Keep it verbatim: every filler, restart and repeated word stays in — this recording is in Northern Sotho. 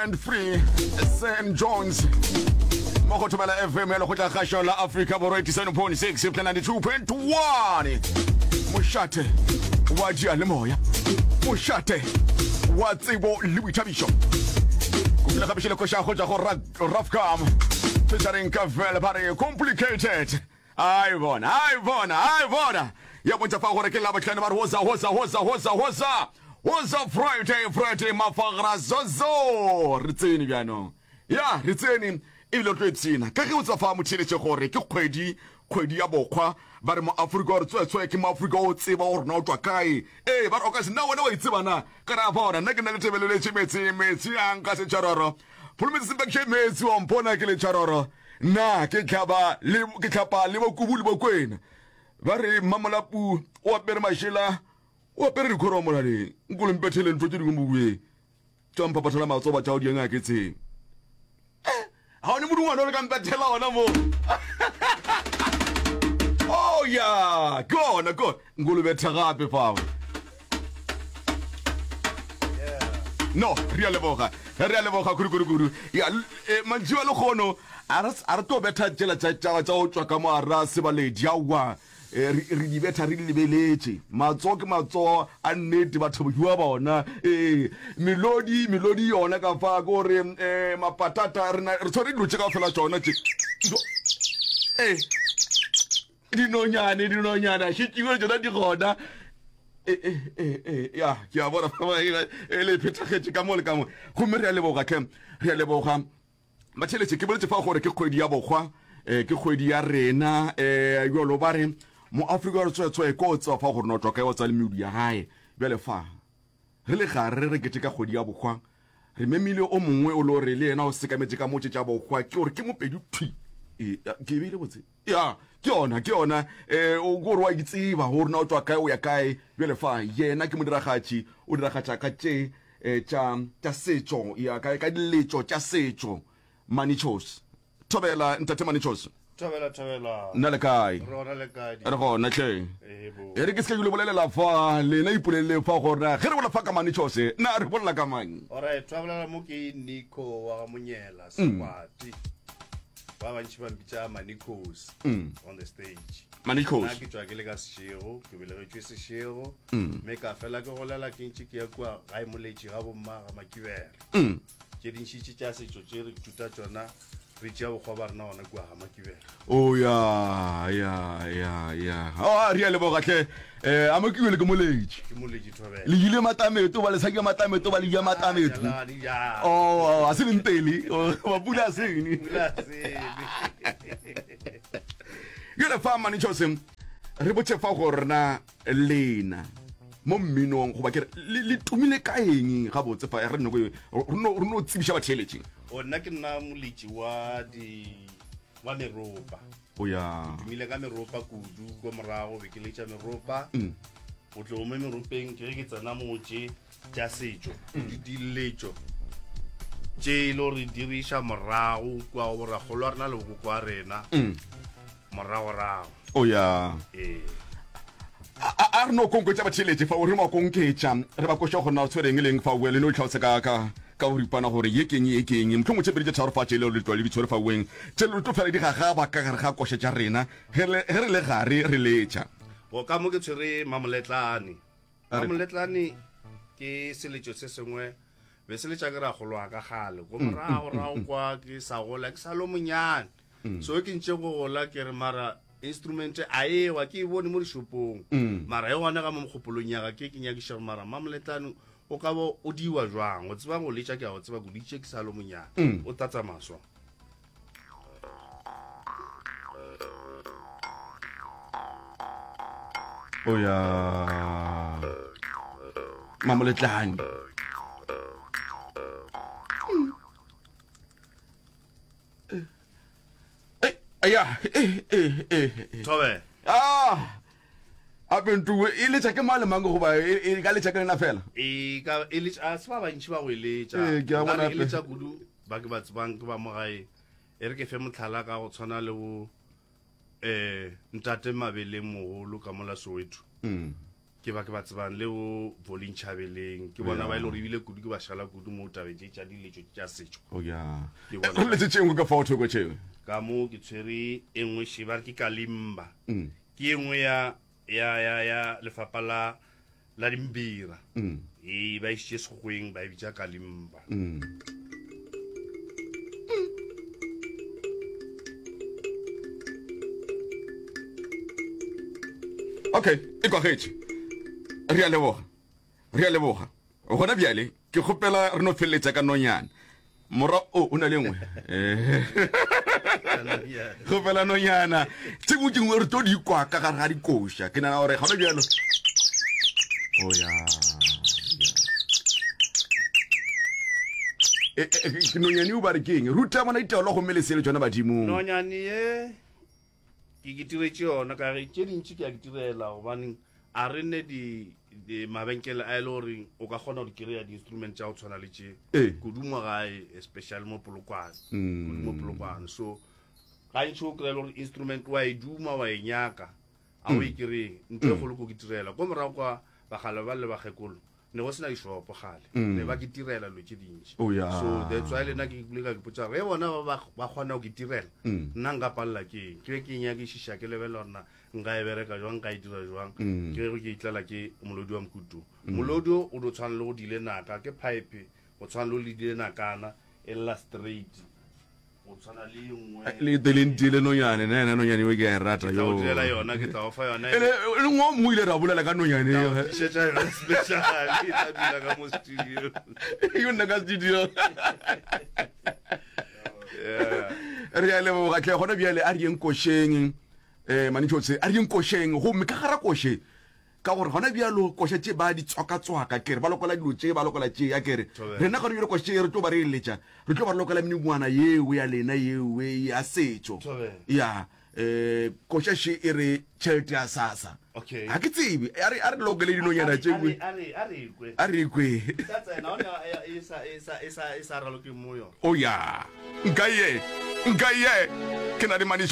And free Sam Jones mo go thobela F M ya lekgotla kgašo la Afrika Borwa eighty-seven point six ninety-two point one, mošate wa diyalemoya, mošate wa tsebo le boithabišo. Kopile gape šele koša go tšwa go Rafcam featuring Kavel, ba re Complicated. Ai bona, ai bona, ai bona, ya bontšha fa gore ke Labohlano. Ba re hoza hoza hoza hoza hoza hoza, Friday, Friday mafagra zozo. Re tsene bjanong, ya re tsene ebile re tlo ipshina ka ge o tseba fa motheletše gore ke kgwedi kgwedi ya bokgwa. Ba re mo Afrika gore tswetswe ke mo Afrika o tseba gore na o tswa kae. Ee, ba re o ka se nna wena wa itseba na ka re a bona nna ke nna le tebeleletše metsi metsi a nka setšharoro pholometse sempakše metsi wa mpona ke letšharoro nna ke tlhaba le ke tlhapa le bokubu le bokwena. Ba re mmamolapu o apere mašela, o apere dikhoro molaleng, nkolo mpethele ntho tše dingwe mobueng tša mpaphathela matsoba tša o dianga ke tseng ga one modingwana o le ka mpethela ona mo. Oh ya, ke ona ke ona nkolo betha gape fao. No, re a leboga, re a leboga kudu-kudu-kudu. Ya e, mantši wa lekgono a re a re tlo betha tšela tša tša tša go tšwa ka mo ara sebaledi aowa. e, re re di betha re di lebeletše. Matsogo ke matsogo a nnete, batho ba bona. Ee, melodi melodi yona ka fa ke gore um mapatata re na re tshwere dilo tše ka fela tšona tše. Ee, dinonyane dinonyane a šetšiwe tšona di gona. E, e, e, e, ya ke a bona e le phethagetše ka mo le ka mo, gomme re a leboga tlhe, re a leboga batheletše. Ke boletse fa gore ke kgwedi ya bokgwa, um ke kgwedi ya rena um jalo ba re mo Afrika re tswetswe ko tseba fa gore no tswa kae, wa tswa le medu ya gae. Bjale fa re le gare re kete ka kgwedi ya bokgwa, re memile o mongwe o le gore le yena o sekametše ka motse tša bokgwa, ke gore ke Mopedi thwi. Ee, ke beile botse ya ke yona ke yona um o gore wa itseba gore na o tswa kae, o ya kae. Bjale fa yena ke modiragatši, o diragatša ka tše eh, tša tša setšo, ya ka ka diletšo tša setšo. Manichos, thobela ntate Manichos. Thobela, thobela. Nna le kae? Re gona, le kae? Re gona tlhe. Ebo. E re ke se ke le bolelela fa lena ipolelele fa gore ge re bolela fa ka Manichos, na re bolela ka mang? Alright, thobela, mo ke Nico wa ga Monyela Sekwati. Ba bantši ba mpitša Manicos on the stage. Manicos. Nna ke tšwa ke le ka Seshego, ke belegetšwe Seshego. Mme ka fela ke golela ke ntše ke ya kua gae Moletši ga bomma ga Makibere. Tše dintšitše tša setšo tše re ithuta tšona, re tšea bokgwa ba rena gona kua ga Makibere. O ya ya ya ya, oh, re a leboga tlhe. um a Makiwele ke Moletši. Ke Moletši, thobela. Le ile Matameto ba le sa ke Matameto ba le ja Matameto. Ah, ja. Oh, a se lentele mapula a sene. Pula sene. Jale fa Manichose, re botse fa gore na lena mo mminong goba ke re le le tumile ka eng gabotse fa re no re no re no tsebiša batheeletši. O nna ke nna moletši wa di wa meropa. O ya. Tumile ka meropa kudu. Ko morago be ke letša meropa. Mm. O tlo mo meropeng ke ge ke tsena motše tša setšo, di diletšo tše e le gore diriša morago kua go borakgolo wa rena le bokoko wa rena Mm. moragorago. O ya. Ee. A a- a re no konketša batheeletši fa o re mo konketša, re ba koša gore na o tshwereng leng fa o le no itlhalosa ka ka ka boripana gore ye keng, ye keng, mohlomongwe tše pedi tše tharo fa tše le le tlwa le di tshwere fa weng tše le tlo fela di gagaba ka gare ga koša tša rena ge re ge re le gare re letša. Go ka mo ke tshwere mamoletlane. A re- Mamoletlane ke seletšo se sengwe be se letša ke ragolo wa ka gale ko morago rago kwa ke sa gola, ke sa lo monyane. So ke ntše go gola ke re mara instrument a ewa ke e bone mo dishopong, mara e gona ka mo mogopolong ya ka ke ke nyakiša gore mara mamoletlane o ka bo o diwa jwang. O tseba go letša, ke a go tseba koditše ke sa lo monyane. O tlatsa maswa. O ya, mamoletlane. Eh, ya eh eh eh eh. Thobela. Ah, ape ntuwe e letša ke mang le mang goba e e ka letša ke lena fela? E ka e letša a se ba bantši ba go e letša. Ee, ke a bona Nkare e hape. letša kudu ba ke ba tsebang ke ba mo gae. E re ke fe motlhala ka go tshwana le bo eh ntate Mabeleng mogolo ka mola Soweto. Mm. Ke ba ke ba tsebang le bo Volin Chabeleng, ke bona ba e le gore ebile kudu ke ba šala kudu mo tabeng tše tša diletšo tša setšo. Oh ya. Ke Eh, bona Re letse tše nngwe ka fao thoko tšeo. Ka mo ke tshwere e nngwe še ba re ke kalimba. Mm. Ke e nngwe ya ya ya ya lefapha la la dimbira. Mm. E ba išitše sekgweng ba e bitša kalimba. Mm. Okay, e kwagetše. Re a leboga. Re a leboga. Gona bjale ke kgopela re no feleletša ka nonyana. Mora o o na le nngwe. Eh. Kgopela nonyana. Tše dingwe tše dingwe re tlo di kwa ka gare ga dikoša. Ke nagana gore gona bjalo. Oh ya. E, e, e, nonyane o ba re ke eng? Ruta bona ditaolo gomme le sele tšona badimong. Nonyane ye ke ke tiretše yona ka ge tše dintši ke a ke tirela gobaneng a re ne di di mabenkele a e le goreng o ka kgona go di kry-a di-instrument tša go tshwana le tše Ee. kudu mo gae especially mo Polokwane, Mm. kudu mo Polokwane. So gantši o kry-a le gore instrument wa e duma wa e nyaka a o e kry-e, ntho e kgolo ko ke tirela ko morago kwa bagale ba le bakgekolo ne go sena dishopo gale, ne ba ke tirela dilo tše dintši. Oh, yeah. So that's why le nna ke ile ka ipotša gore ge bona ba ba ba kgona go ke tirela, nna nka palela ke eng? Ke be ke nyakišiša ke lebelela gore na nka e bereka jwang, nka e dira jwang. Ke ge ke itlela ke molodi wa mokutu. Molodi o o do tshwana le go dile naka, ke pipe go tshwana le go ledile nakana e lla straight, go tshwana le e nngwe. Le te le ntile nonyane, nna yena nonyane eo ke a e rata Ke tla yo. o direla yona, ke tla o fa yona. E le e le ngwe o mongwe ile ra bolela ka nonyane Tla o eo. tlišetša yona special, e tla dula ka mo studio. Yo nna ka studio. Yeah. Re a leboga tle gona bjale a re yeng košeng. Eh manitšotse a re yeng košeng gomme ka gara koše ka gore gona bjalo koša tše ba di tswaka-tswaka kere ba lokola dilo tše ba lokola tše ya kere Thobela. rena gona bjalo koša tše re tlo ba re eletša re tlo ba re lokola meningwana yeo ya lena yeo ya setšo. Thobela. Ya eh koša še e re tšhelete ya SASSA. Okay. Ga ke tsebe a re a re lokele dinonyana tše A nngwe. re- a re a re kwe. A re kwe. Ka tsena ona e sa e sa e sa e sa raloke mo yona. O ya. Nka ye. Nka ye. Ke na le maniša